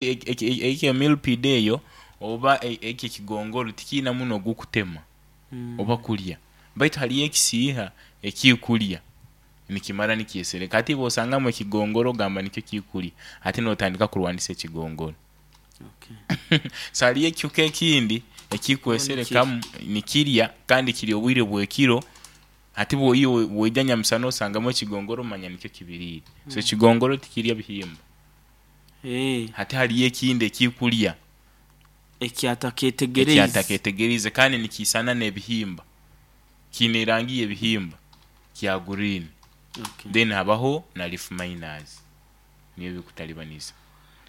Ekyo millipede eyo oba ekyo ekigongoro tikiina munwa gukutema oba kulya, baitu haliyo ekisiiha ekikulya nikimara nikyesereka. Hati iwe bwosangamu ekigongoro ogamba nikyo kikulya, hati notandika kurwanisa ekigongoro. So haliyo ekihuka ekindi ekikweserekamu nikirya kandi kirya obwire bwekiro, hati iwe bwoija nyamusana osangamu ekigongoro omanya nikyo kibiriire. So ekigongoro tikirya bihimba. Hati haliyo ekindi ekikulya ekyataketegereize kandi nikiisana n'ebihimba, kiine erangi y'ebihimba kya green. Then habaho na leaf miners nibyo bikutalibaniza.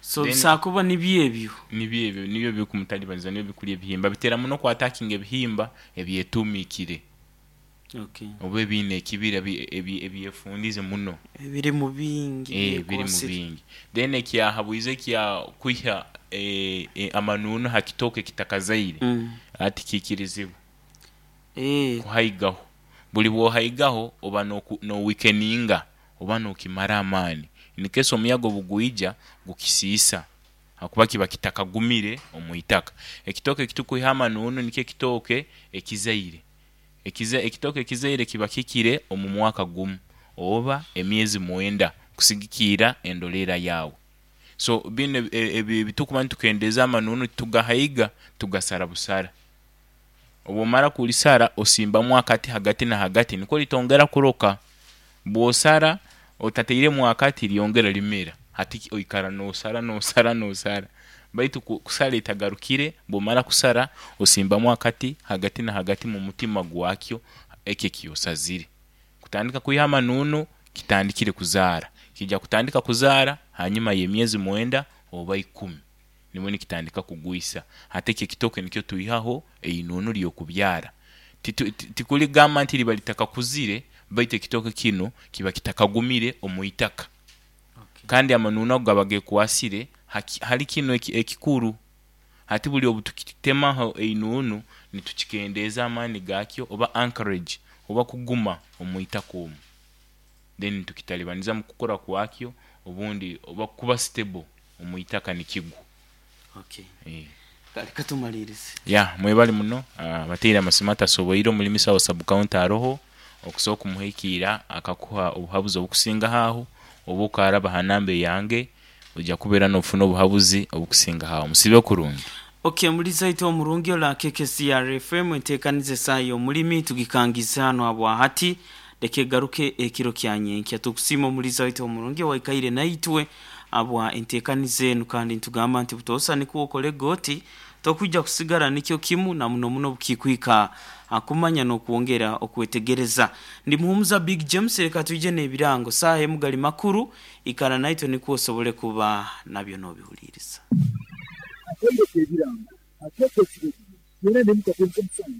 So bisobola kuba nibyo ebyo? Nibyo ebyo, nibyo bikumutalibaniza, nibyo bikulya ebihimba. Bitera muno ku attackinga ebihimba ebyetumiikire. Oba ebiine ekibira ebyefundize muno. Ebirimu bingi Eeh birimu byekwasire. bingi. Then ekyahabwize ekya kwiha amanuunu ha kitooke ekitakazaire, tikiikirizibwa kuhaigaho. Buli bwohaigaho oba no weakeninga oba nokimara amaani. In case omuyaga obugwija gukisiisa ahakuba kiba kitakagumire omwitaka. Ekitooke ekitukwiha amanuunu nikyo ekitooke ekizaire. Ekitooke ekizaire kiba kikire omu mwaka gumu oba emyezi mwenda kusigikiira endoleera yaawe. So binu ebitukuba nitukendeeza amanunu titugahaiga, tugasara busara. Obwomara kulisara osimbamu akati hagati na hagati nikwo litongera kuroka. Bwosara otatairemu akati lyongera limera. Hati oikara nosara nosara nosara baitu kusara etagarukire, bwomara kusara osimbamu akati hagati na hagati mu mutima gwakyo ekyo ekyosazire. Kutandika kwiha amanunu kitandikire kuzaara. Kija kutandika kuzaara hanyuma y'emyezi mwenda oba ikumi nibwo nikitandika kugwisa. Hati ekyo ekitooke nikyo twihaho einunu ly'okubyara. Tikuligamba nti liba litakakuzire baitu ekitooke kinu kiba kitakagumire omu itaka. Kandi amanunu ago gaba gekwasire hali kinu ekikuru. Hati buli obutukitemaho einunu nitukikendeeza amaani gakyo oba anchorage oba kuguma omu itaka omwo. Then nitukitalibaniza mu kukura kwakyo obundi oba kuba stable omu itaka nikigwa. Okay. Kale katumaliirize. Ya mwebale muno abataire amasimu atasoboire omulimisa wa sub county aroho okusobola okumuhikiira akakuha obuhabuzi obukusingaho aho oba okaraba ha namba eyange oija kuba era nofuna obuhabuzi obukusingaho aho. Musiibe kurungi. Ok muliza itwe omurungi ola KKCR FM entekaniza esaaha y'omulimi tugikangize hanu habwahati leka egaruke ekiro kya nyenkya. Tukusiima omuliza waitu omurungi owaikaire naitwe habwa entekaniza enu kandi nitugamba nti butoosa nikwo okorege oti tokwija kusigara nikyo kimu na muno muno obukikwika ha kumanya n'okwongera okwetegereza. Ndi Muhumuza Big James leka twije n'ebirango saaha emu gali makuru ikara naitwe nikwo osobole kuba nabyo n'obihuliiriza. Akaire k'ebirango akeekyo ekiro byona ndi omu kateebe k'omusango.